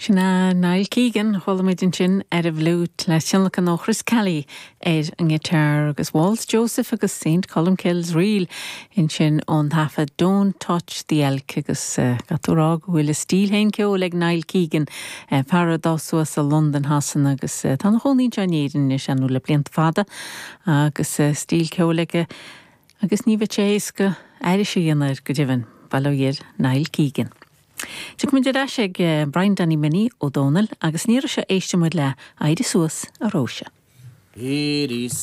Sin é Niall Keegan, a chuala muid ansin ar an bhfliúit le tionlacan ó Chris Kelly ar an ngiotár agus Waltz Joseph agus St Colmcille's Reel ansin ón taifead Don't Touch the Elk agus caithfidh tú a rá go bhfuil a stíl féin ceoil ag Niall Keegan, fear a d'fhás suas i Londain Shasana agus tá ina chónaí anseo in Éirinn anois, ar ndóigh, le blianta fada agus stíl ceoil aige agus ní bheadh sé éasca aithris a dhéanamh air go deimhin, bail ó Dhia ar Niall Keegan. Tiocfaimid ar ais ag Brian Danny Minnie Ó Dónaill agus an iarraidh seo éistfidh muid le Éirigh Suas a Róise. Éirigh.